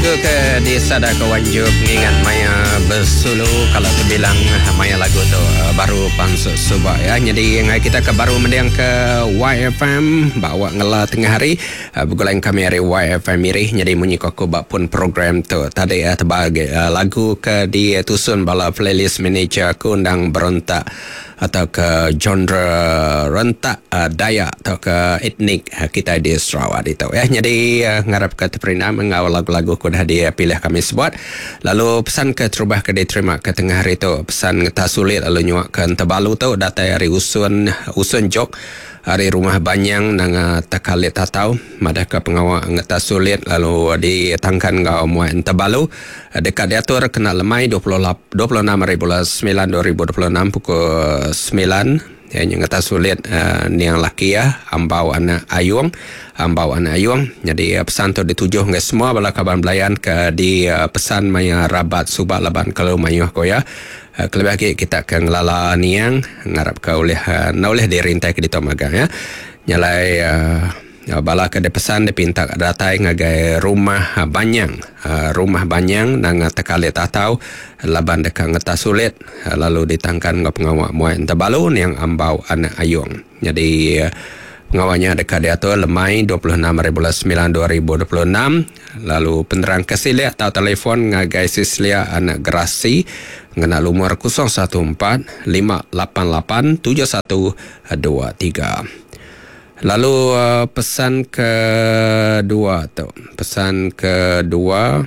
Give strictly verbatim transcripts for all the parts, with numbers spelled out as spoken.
Lagu ke disada ke Wanjub ngingat maya besulu kalau terbilang maya lagu tu baru pansut suba ya. Jadi ngai kita ke baru mending ke Y F M bawa ngela tengah hari begulai kami hari Y F M Miri. Jadi munyi aku bak pun program tu tadi terbagi lagu ke ditusun bala playlist manager aku undang berontak atau ke genre rentak uh, Dayak atau ke etnik uh, kita di Sarawak itu ya. Jadi uh, ngarap ke terperina mengawal lagu-lagu ku dah dipilih kami sebuat. Lalu pesan ke terubah ke diterima ke tengah hari tu pesan ngetah sulit lalu nyuak ke Tebalu tu datai hari usun usun jok hari rumah Banyang nang takalit tatau madah ke pengawak ngetah sulit lalu ditangkan ngau muat Tebalu dekat diatur kena lemai dua puluh enam hari bulan sembilan dua ribu dua puluh enam pukul sembilan ya ngetah sulit uh, niang laki ya ambau anak ayung ambau anak ayung. Jadi uh, pesan tu ditujuh ngai semua bala kaban belayan ke di uh, pesan maya rabat subak laban kalau mayuh ko ya. Uh, kelebih lagi kita ke ngelala niang ngarap ke oleh uh, na oleh dirintai ke ditu magang ya. Nyalai uh, bala ke dipesan dipinta datai ngagai rumah Banyang uh, rumah Banyang nang tekalit atau laban deka ngetah sulit uh, lalu ditangkan ngau pengawak muai Tebalu niang ambau anak ayung. Jadi uh, pengawaknya deka diatur lemai dua puluh enam hari bulan sembilan dua ribu dua puluh enam. Lalu penerang kesilik atau telefon ngagai Sislia anak Gerasi ngena lumur kosong satu empat lima lapan lapan tujuh satu dua tiga. Lalu uh, pesan kedua tu, pesan kedua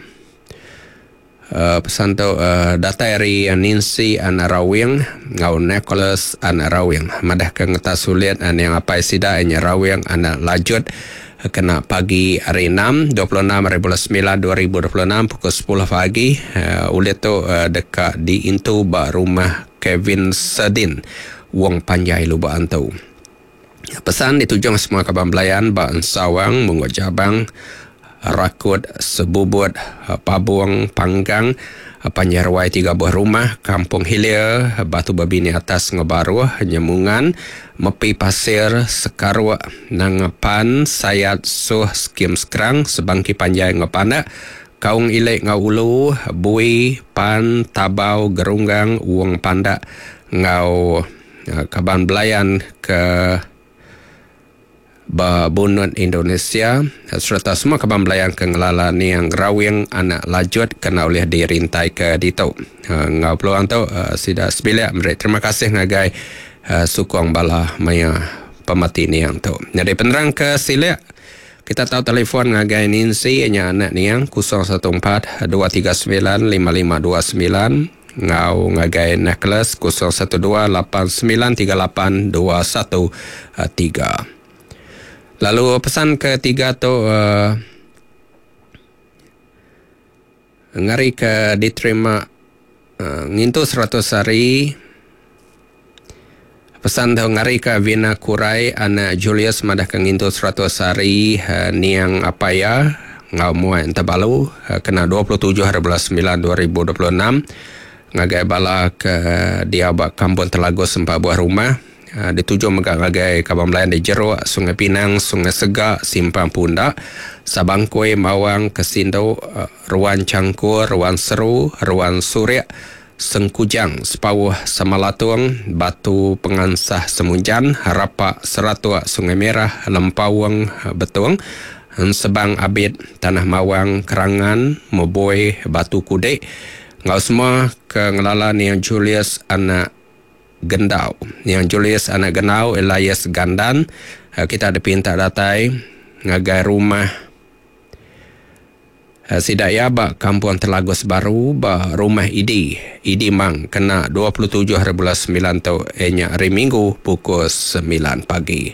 uh, pesan tu uh, datai dari Nancy anak Rawing ngau Nicholas anak Rawing madah ke ngetah sulit an yang apai sida nya Rawing anak Lajut kena pagi hari enam dua puluh enam hari bulan sembilan dua ribu dua puluh enam pukul sepuluh pagi uh, ulit tu uh, dekat di intu ba rumah Kevin Sedin Wong Panjai Lubuk Antu. Pesan ditujung semua kaban belayan ba Sawang, Mungguk Jabang, Rakut, Sebubut, Pabung, Panggang, Panjarwai tiga buah rumah, Kampung Hilir, Batu Babini atas Ngebaruh, Nyemungan, Mepi Pasir, Sekarwak, Nangapan, Sayat, Suh, Skim Sekerang, Sebangki Panjai Ngepanak, Kaung Ilek Ngau Ulu, Bui, Pan, Tabau, Gerunggang, Wong Pandak, Ngau kaban belayan ke Bunut Indonesia serta semua kaban belayan ke ngelala niang Rawing anak Lajut kena oleh dirintai ke ditu. Ngau peluang tu sida sebilik merik terima kasih ngagai sukong bala maya pemati niang tu. Jadi penerang ke silik kita tahu telefon ngagai Nancy nya anak niang kosong satu empat dua tiga sembilan lima lima dua sembilan ngau ngagai Nicholas kosong satu dua lapan sembilan tiga lapan dua satu tiga. Lalu pesan ketiga tu uh, ngari ke diterima uh, ngintu seratus hari. Pesan tu ngari ke Vina Kurai anak Julius madah ke ngintu seratus hari uh, niang apaya ngau muai Tebalu uh, kena dua puluh tujuh hari bulan sembilan dua ribu dua puluh enam ngagai bala ke dia bak Kampung Telagus empat buah rumah. Uh, dituju megak ngagai kaban belayan di Jeruk, Sungai Pinang, Sungai Segak, Simpang Pundak, Sabangkui, Mawang, Kesindo, uh, Ruan Cangkur, Ruan Seru, Ruan Suriak, Sengkujang, Sepawuh, Samalatung, Batu Pengansah Semunjan, Rapak, Seratua, Sungai Merah, Lempawang, Betung, Sebang Abid, Tanah Mawang, Kerangan, Moboi, Batu Kudek. Ngau semua ke ngelala niang Julius anak Gendau. Yang Julius anak Gendau Elias Gandan kita ada pinta datai ngagai rumah Sidaya ba Kampung Telagus Baru ba rumah Idi Idi Mang kena dua puluh tujuh hari bulan sembilan tu nya hari Minggu pukul sembilan pagi.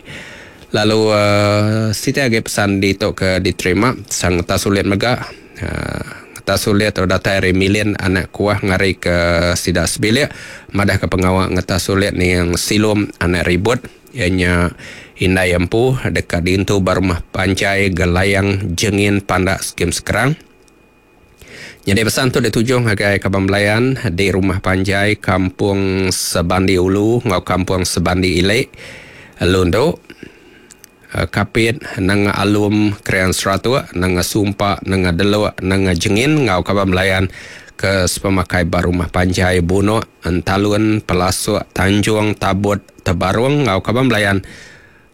Lalu uh, siti agi pesan di tu ke diterima sang tak sulit mega uh, tak sulit atau datai dari Milin anak kuah ngari ke sida sebilik madah ke pengawak ngetah sulit ni yang silum anak ribut ianya indai empu dekat dintu barumah Panjai Gelayang Jengin Pandak Skim Sekerang. Jadi pesan tu dituju ngagai kaban belayan di rumah Panjai Kampung Sebandi Ulu ngau Kampung Sebandi Ilek Lundu. Kapit, Nanga Alum, Krian Seratuk, Nanga Sumpa, Nanga Delok, Nanga Jengin ngau kaban belayan ke sepemakai ba Rumah Panjai Bunok, Entalun, Pelasuk, Tanjung, Tabut, Tebarung ngau kaban belayan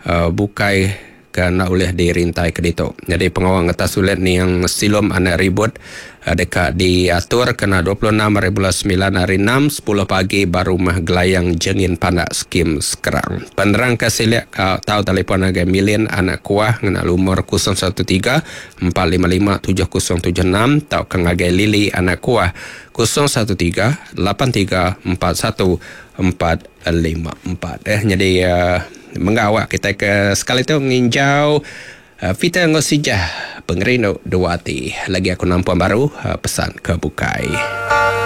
uh, bukai ke nak ulih dirintai ke ditu. Jadi pengawa ngetas ulit ni yang silum anak ribut uh, dekat diatur kena dua puluh enam hari bulan sembilan hari enam sepuluh pagi baru rumah Gelayang Jengin Pandak Skim Sekerang. Penerang ke siliak uh, tahu telefon agai Milin anak kuah ngena lumur kosong satu tiga empat lima lima tujuh kosong tujuh enam tau ke ngagai Lili anak kuah kosong satu tiga lapan tiga empat satu empat lima empat. Eh jadi uh, mengawak kita ke sekali tu nginjau uh, Peter Ngosijah pengerindu dua hati. Lagi aku nampak baru uh, pesan ke bukai.